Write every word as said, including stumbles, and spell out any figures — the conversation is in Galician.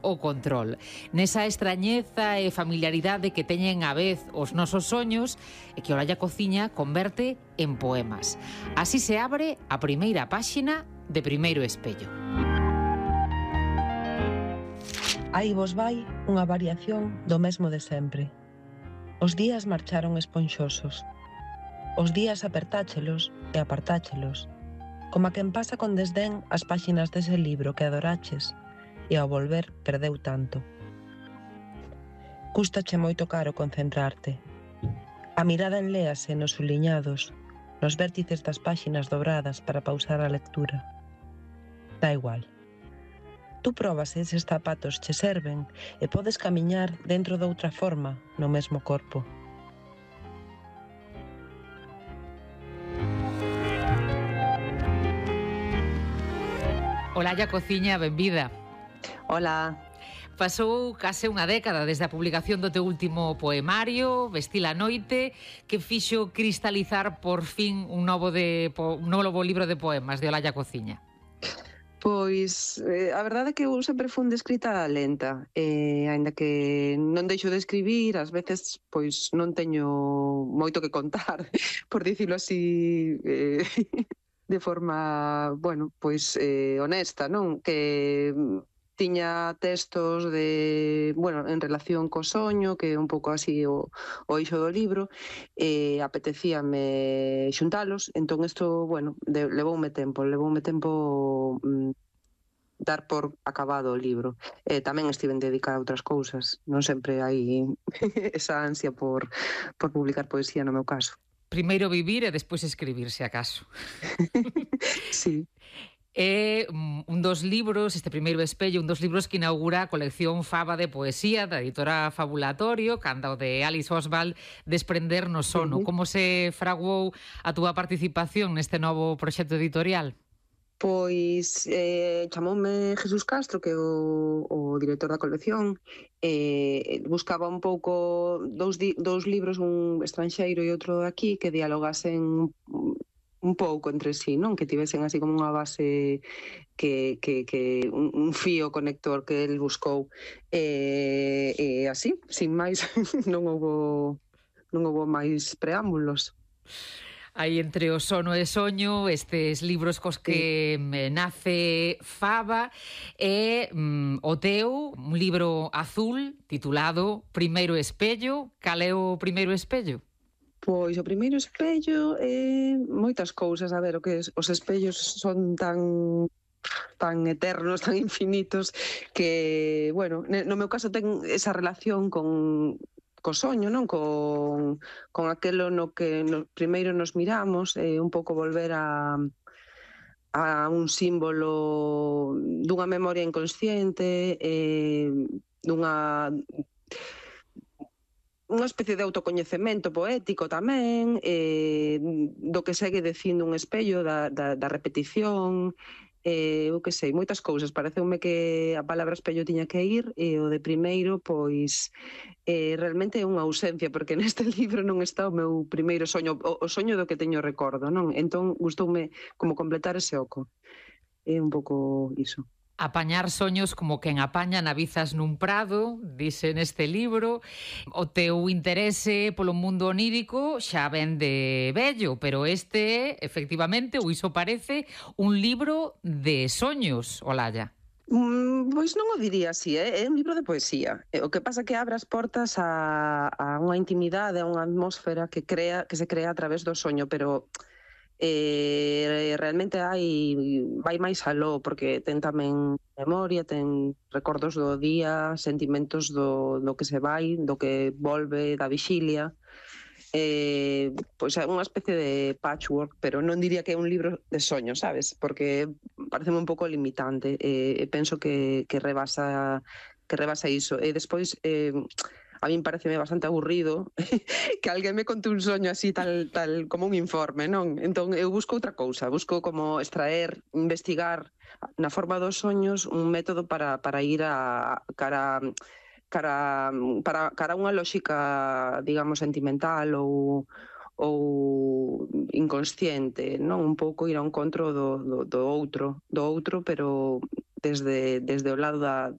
o control. Nesa extrañeza e familiaridade que teñen a vez os nosos soños e que Olalla Cociña converte en poemas. Así se abre a primeira páxina de Primeiro Espello. Aí vos vai unha variación do mesmo de sempre. Os días marcharon esponxosos. Os días apertáchelos e apartáchelos, como a quen pasa con desdén as páxinas dese libro que adoraches e ao volver perdeu tanto. Cústache moito caro concentrarte. A mirada enléase nos suliñados, nos vértices das páxinas dobradas para pausar a lectura. Da igual. Tú probas se eses zapatos che serven e podes camiñar dentro doutra forma no mesmo corpo. Olalla Cociña, benvida. Hola. Pasou case unha década desde a publicación do teu último poemario, Vestir a noite, que fixo cristalizar por fin un novo, de, un novo libro de poemas de Olalla Cociña. Pois, eh, a verdade é que eu sempre fun de escrita lenta, eh, aínda que non deixo de escribir, ás veces pois non teño moito que contar, por dicilo así, eh, de forma, bueno, pois eh, honesta, non? Que tiña textos de, bueno, en relación co soño, que é un pouco así o, o eixo do libro, e apetecíame xuntalos, entón isto, bueno, de, levoume tempo, levoume tempo mm, dar por acabado o libro. E tamén estiven dedicada a outras cousas, non sempre hai esa ansia por, por publicar poesía no meu caso. Primeiro vivir e despois escribir, se acaso. Sí. É un dos libros, este Primeiro Espello, un dos libros que inaugura a colección Faba de poesía da editora Fabulatorio, canda o de Alice Oswald, Desprender no sono. Uh-huh. Como se fraguou a túa participación neste novo proxecto editorial? Pois eh, chamoume Jesús Castro, que é o, o director da colección, e eh, buscaba un pouco dous, di, dous libros, un estranxeiro e outro aquí, que dialogasen un pouco entre sí, non? Que tivesen así como unha base, que, que, que un, un fío conector que el buscou. E, e así, sin máis, non houbo, non houbo máis preámbulos. Aí entre o sono e soño, estes libros cos que sí. nace Faba, e mm, o teu, un libro azul titulado Primeiro Espello. Cal é o Primeiro Espello? Pois o primeiro espello é moitas cousas, a ver, o que os espellos son tan tan eternos, tan infinitos, que, bueno, no meu caso ten esa relación con co soño, non? Con, con aquelo no que no, primeiro nos miramos, e eh, un pouco volver a a un símbolo dunha memoria inconsciente, eh, dunha unha especie de autocoñecemento poético tamén, eh, do que segue dicindo un espello, da, da, da repetición, eh, eu que sei, moitas cousas. Pareceume que a palabra espello tiña que ir, e o de primeiro, pois, eh, realmente é unha ausencia, porque neste libro non está o meu primeiro soño, o, o soño do que teño recordo, non? Entón, gustoume como completar ese oco. É un pouco iso. Apañar soños como quen apaña navizas nun prado, dice neste libro. O teu interese polo mundo onírico xa ven de vello, pero este, efectivamente, ou iso parece, un libro de soños, Olalla. Mm, pois non o diría así, eh? É un libro de poesía. O que pasa é que abre as portas a, a unha intimidade, a unha atmósfera que crea que se crea a través do soño, pero eh, realmente hai vai máis aló, porque ten tamén memoria, ten recordos do día, sentimentos do, do que se vai, do que volve, da vixilia. Eh, pois é unha especie de patchwork, pero non diría que é un libro de soños, sabes? Porque parece un pouco limitante, e eh, penso que, que rebasa que rebasa iso. E despois eh, a min pareceme bastante aburrido que alguén me conte un soño así tal, tal como un informe, non? Entón eu busco outra cousa, busco como extraer, investigar na forma dos soños un método para, para ir a cara cara para cara unha lógica, digamos, sentimental ou ou inconsciente, non? Un pouco ir ao encontro do, do, do outro, do outro, pero desde, desde o lado da,